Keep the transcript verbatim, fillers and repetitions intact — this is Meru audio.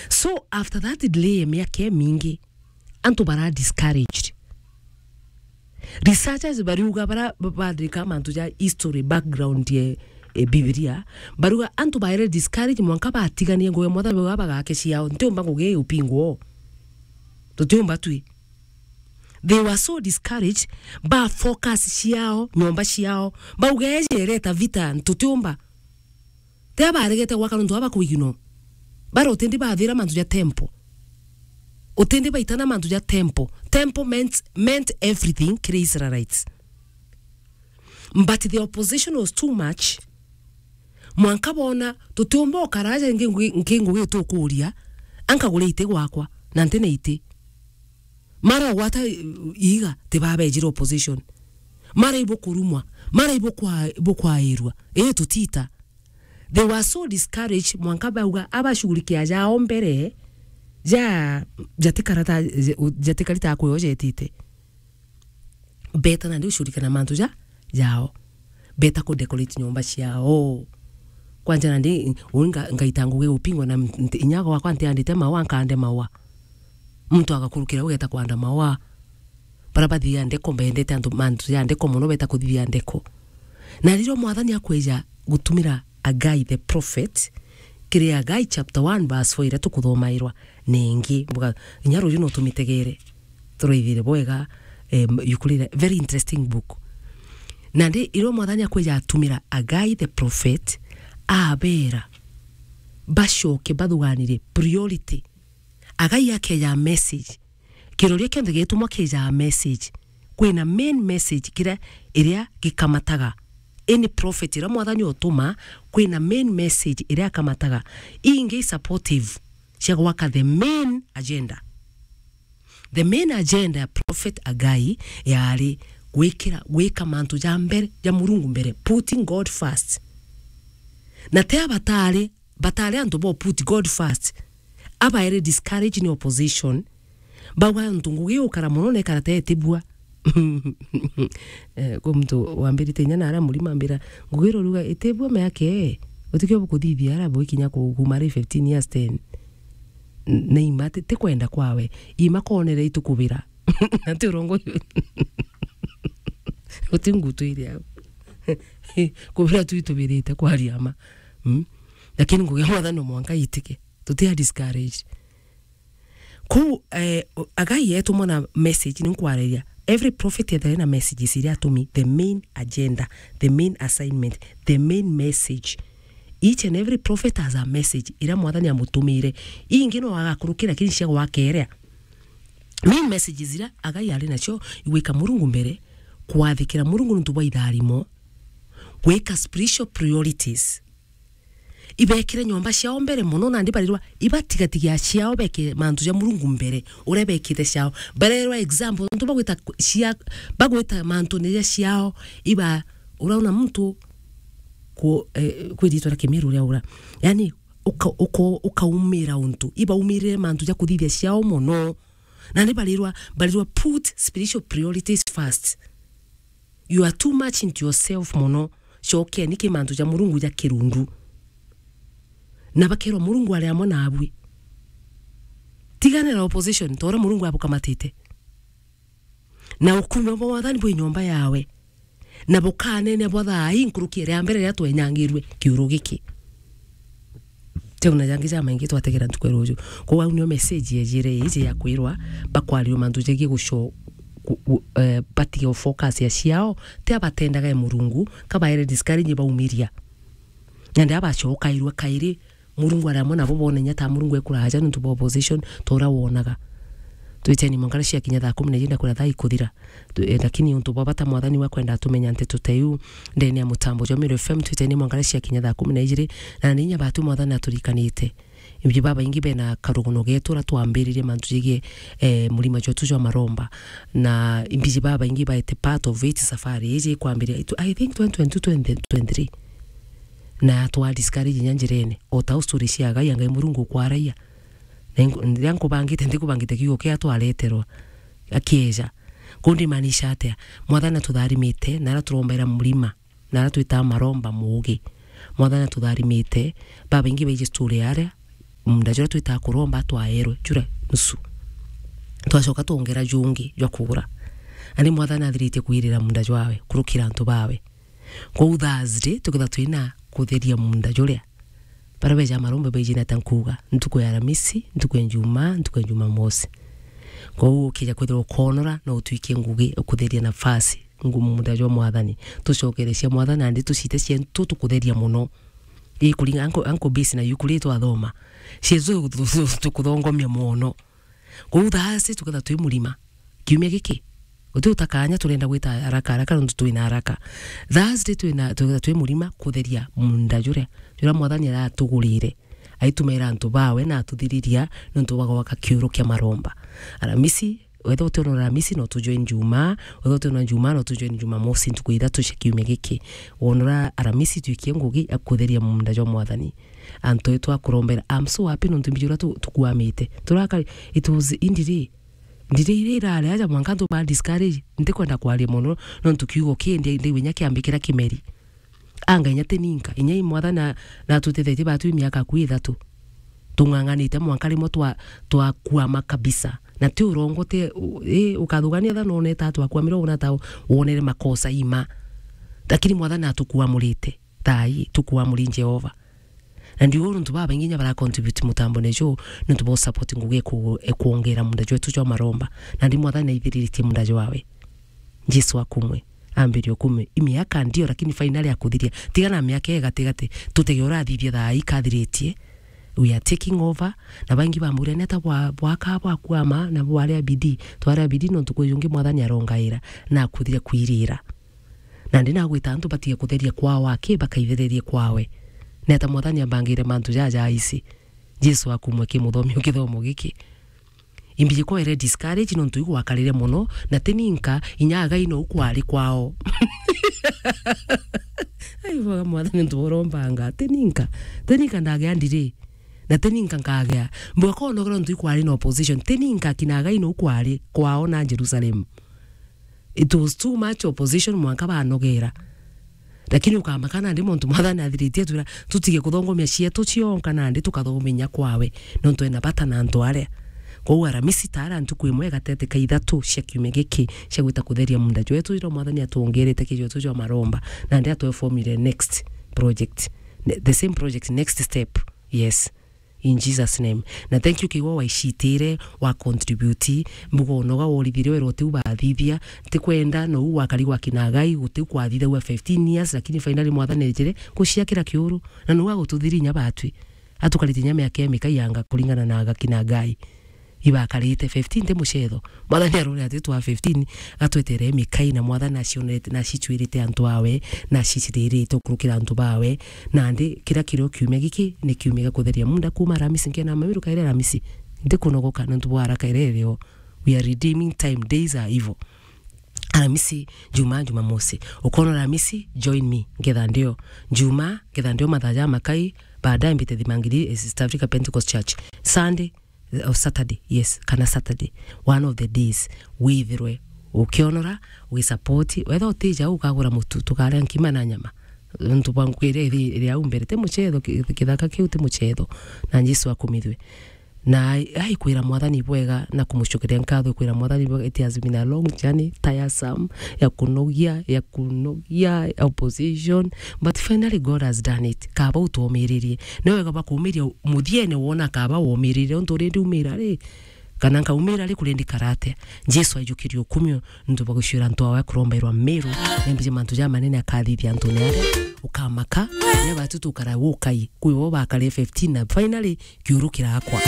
So after that delay ya miaka imingi, antu bara discouraged. Researchers bariuga bara ba-, bathirika mantu ja history, background ya, eh, Bibilia, bariuga antu baere discouraged mwanka batiganie ngugi ya Mwathani bauga bagake ciao. Ntiumba ngugi iupingwo. Tutiumba twi. They were so discouraged, ba focus ciao, nyomba ciao. Bauga eje ireta vita, tutiumba. Tia baregete gwaka nontu aba kuigino. Bara utindi bathira mantu ja temple. Utindi baitana mantu ja temple. Temple meant, meant everything kiri Israelites. But the opposition was too much. Mwanka bona, tutiumba ukaraja nki ngugi, nki ngugi tukuria, anka gure iti gwakwa, na nti na iti. Mara ugwata, eh, iiga, tibabejire opposition. Mara ibukurumwa, mara ibukwa-, ibukwairua. Ii tutita. They were so discouraged, mwanka bauga abashughulikia jao mbere, ja, jatikarata, jatikari ta kwiojetite. Beta nandi ushughulikia na mantu ja, jao. Beta ku decorate nyomba ciao. Kwanja nandi, uu nga-, ngaita ngugi upingwa na mt-, inya gwakwa ntiandite maua, nkande maua. Muntu agakurukira ugeta kwanda maua. Bara bathithia ndeko, mbendete antu, mantu ja ndeko mono, beta kuthithia ndeko. Na riria Mwathani akweja gutumira Hagai the prophet, kiri Hagai chapter one verse four iria tukuthomairwa ningi, mbuga, inya ruju no tumitegere, turaithire bwega, em, yukurire, very interesting book. Nandi riria Mwathani akweja atumira Hagai the prophet, abera bacoke bathuganire priority. Hagai akeja message. Kiroria kionthe gitumwa kijaa message. Kwina main message kiria, iria gikamataga. Any prophet iria Mwathani utuma, kwina main message iria akamataga. Ingi i supportive cia gwaka the main agenda. The main agenda ya prophet Hagai yari gwikira, gwika mantu ja mbere, ja Murungu mbere, putting God first. Na tia batari, batari antu bo put God first. Abaere discourage ni opposition. Bauga antu ngugi ukara mono na ikara te itibua. Eh, kwi muntu wambirite inya na aria murima ambira, ngugi ruruga itibua meake, utikio bukuthithia ara bwikinya ku-, kuma ari fifteen years, ten. N-, na ima ti, ti kwenda kwawe. Ima konere itukubira. Na ti urongo uyu. Uti ngutu iria. Kubira tu itubirite kwaria ma. Mm? Lakini ngugi ya Mwathani no mwanka itike. Tutia discourage. Kuu, eh, Hagai etumwa na message, ni nkwariria. Every prophet ethire na messages iria atumi, the main agenda, the main assignment, the main message. Each and every prophet has a message iria Mwathani amutumire. Ingi no agakurukira, lakini cia gwakerea. Main messages iria Hagai ari nacio, igwika Murungu mbere, kwathikira Murungu nontu bwa itharimo, gwika spiritual priorities. Ibekire nyomba ciao mbere mono, nandi barirwa ibatigatigia ciao, beke mantu ja Murungu mbere, uria bekite ciao. Barerwa example, nontu bagwita ku-, cia-, bagwita mantune ja ciao, iba, uraona muntu ku-, eh, kwi ritwa ria Kimiru ria ura. Yani, uka-, uko-, ukaumira untu, ibaumirire mantu ja kuthithia ciao mono. Nandi barirwa, barirwa put spiritual priorities first. You are too much into yourself mono. Cokeni ki mantu ja Murungu ja kirundu. Na bakerwa Murungu ari amwe nabui. Tiganira opposition, ta uria Murungu abukamatite. Na ukume bwa Mwathani bwi nyomba yawe. Na bukanene bwa thaa ii nkuruki iria mbere riria twenyangirue kiuru giki. Teuna jangi jamaingi twategera ntuku ya ruju. Kou au nio message yejire iji ya kwirwa bakwarirua mantu jegie guco-, gu-, gu-, eh, batige focus ya ciao, ti abatendaga e Murungu, kabaere discourage baumiria. Nandi abacokairua kairi, Murungu ari amwe nabo bone inya ta Murungu ekuraja nontu bwa opposition, ta uria wonaga. Twiteni mwanka riria ciakinya thaa kumi na ijiri na kwira thaa ikuthira. Tu-, eh, lakini untu bwa bata Mwathani wa kwenda atumenya nteto ta iu ndene ya mutambo jwa Meru F M, twiteni mwanka riria ciakinya thaa kumi na ijiri, na ni inya batu Mwathani aturikanite. Imbi babaingi bena karugono getu uria twambiririe mantu jegie, eh, murima jwetu jwa maromba. Na imbi babaingi baete part of it safari iji ikwambiria itu, I think twenty twenty-two, twenty twenty-three. Na twa discourage inya njirene. O ta u story cia Hagai, Ngai Murungu ukwaraia. Na nku-, riria nkubangite, ntikubangite kiugo kia twareterwa. Akieja. Kuu ndimaanisha atia? Mwathani atutharimite, na aria turombaira murima, na aria twitaga maromba muugi. Mwathani atutharimite, babaingi baiji story aria, munda juria twitaa kuromba twaerwe, juria nusu. Twacoka twongera jungi jwa kugura. Nandi Mwathani athiritie kwirira munda jwawe, kurukira antu bawe. Kwou Thursday, tukethirwa twina kutheria munda juria. Baria beja maromba baiji na ta nkuuga, ntuku ya Aramisi, ntuku ya Njumaa, ntuku ya Jumamosi. Kwou ukija kwithirwa ukoonora, no utwikie ngugi ukutheria nafasi ngumu munda jwa Mwathani. Tucokerecia Mwathani, nandi tucite cientu tukutheria mono. Ii kuringa anko, anko base na yu kuria twathoma. Cietu tukuthongomia mono. Kwou Thursday tukethirwa twi murima. Kiumia giki, guti utakanya turenda gwita haraka haraka nontu twina haraka. Thursday twina, tukethirwa twi murima kutheria munda juria, juria Mwathani aratugurire. Aitumaira antu bawe na atuthiriria nontu bwa gwaka kiuru kia maromba. Aramisi, wethirwa utionora Aramisi no tujoin Jumaa, wethirwa utionora Jumaa no tujoin Jumamosi, ntuku ithatu cia kiumia giki. Wonora Aramisi twikie ngugi ya kutheria munda jwa Mwathani. Antu etu a kurombera, I'm so happy nontu mbiji uria tu-, tukuamite. Turakari, it was indiri. Ndiri iria irari aja mwanka ntu ba discourage, ntikwenda kwaria mono, nontu kiugo kii ndi, ndi winya kiambikira kimeri. Anga inya ti ninka, inya i Mwathani na, natutethetie batu i miaka akui ithatu. Tung'ang'anite mwanka rimwe twa, twakuama kabisa. Na ti urongo, ti, u-, i, ukathugania tha noneta twakuamire, wona ta wonere makosa ima. Lakini Mwathani atukuamurite. Thaa ii, tukuamuri Jehova. Na ndiuga nontu babaingi inya bara contribute mutambone juu, nontu bo support ngugi eku-, ekwongera munda jwetu jwa maromba. Nandi Mwathani aithiriritie munda jwawe. Jesu akumwe. Ambirie ukumwe. I miaka ndio, lakini finally akuthiria. Tiga na miaka ii gatigati. Tutege urathithia thaa ii kathiritie. We are taking over. Na baingi bamuria, "Neta bwa-, bwaka bwakuama na bwaria bidii?" Twaria bidii nontu kwi jungi Mwathani arongaira na akuthiria kwirira. Nandi nagwita antu batige kutheria kwao aki, bakaithererie kwawe. Neta Mwathani ambangire mantu jaja aisi. Jesu akumwe ki muthomi u kithomo giki. Imbiji kwere discourage nontu igwakarire mono, na ti ninka inya agai no kwari kwao. Ai, bwaga Mwathani nontu urombanga, ti ninka. Ti ninka ndagea ndiri. Na ti ninka nkagea. Mbwa konogera nontu ikwari na opposition. Ti ninka kina agai no kwari kwao na Jerusalem. It was too much opposition, mwanka banogera. Lakini ukamaka nandi muntu Mwathani athiritie atwira tutige kuthongomia cietu cionka nandi tukathongomia inya kwawe, nontu ena bata na antu aria. Kwou Aramisi taara ntuku imwe gatete ka ithatu cia kiumia giki cia gwita kutheria munda jwetu, ira Mwathani atwongerete kijwetu jwa maromba, nandi atwefomire next project. Ne-, the same project, next step. Yes. In Jesus name. Na thank you kiwa waicitire, wa contribute, mbuga unoga worithire wero tiu bathithia, ntikwenda nou wakari gwa kina agai, gutiu kwathithagua fifteen years, lakini finally Mwathani ejire guciakira kiuru, na nou agututhiria inya batwi. Atukarite inya miaka ya mikai yanga kuringana na aga kina agai. Ibakarite fifteen ti mucetho. Mwathani arore ati twa fifteen, gatwetere mikai na Mwathani acionerete na acicwirite antu awe, na aciciririte ukurukira antu bawe. Nandi kiria kirio kiumia giki ni kiumia gia kutheria munda kuma Aramisi nkena mamiru kaire Aramisi. Ndikunogoka nontu bwa ara kaire rio. We are redeeming time, days are evil. Aramisi, Jumaa, Jumamosi. Ukoona Aramisi, join me, ngetha ndio. Jumaa, ngetha ndio mathaa ja makai, baadaye mbite Thimangiri, eh, East Africa Pentecost Church. Sunday, or Saturday, yes, kana Saturday, one of the days, withirwe ukionora, ugisupport, wetha utija ukagura mutu, tukaria nkima na nyama. Nontu bwa ngugi iria iri, iri au mbere, ti mucetho, ki-, kithaka kiu ti mucetho, na Jesu akumithwe. Na ai, ai kwira Mwathani bwega na kumucokeria nkatho, kwira Mwathani bwega, it has been a long journey, tiresome, ya kunogia, ya kunogia, opposition, but finally God has done it. Kaba utwomiririe. Ni wega bakumiria muthiene wona kaba womirire, untu urindi umira ri, kana nkaumira ri, kurindi karate. Jesu aijukirie ukumio, nontu bwa guciura antu awe kurombairwa Meru, nembije mantu ja manene akathithia antu ni aria, ukamaka, ni batu tukara ukai, kwi bo bakare fifteen na finally kiuru kirakwa.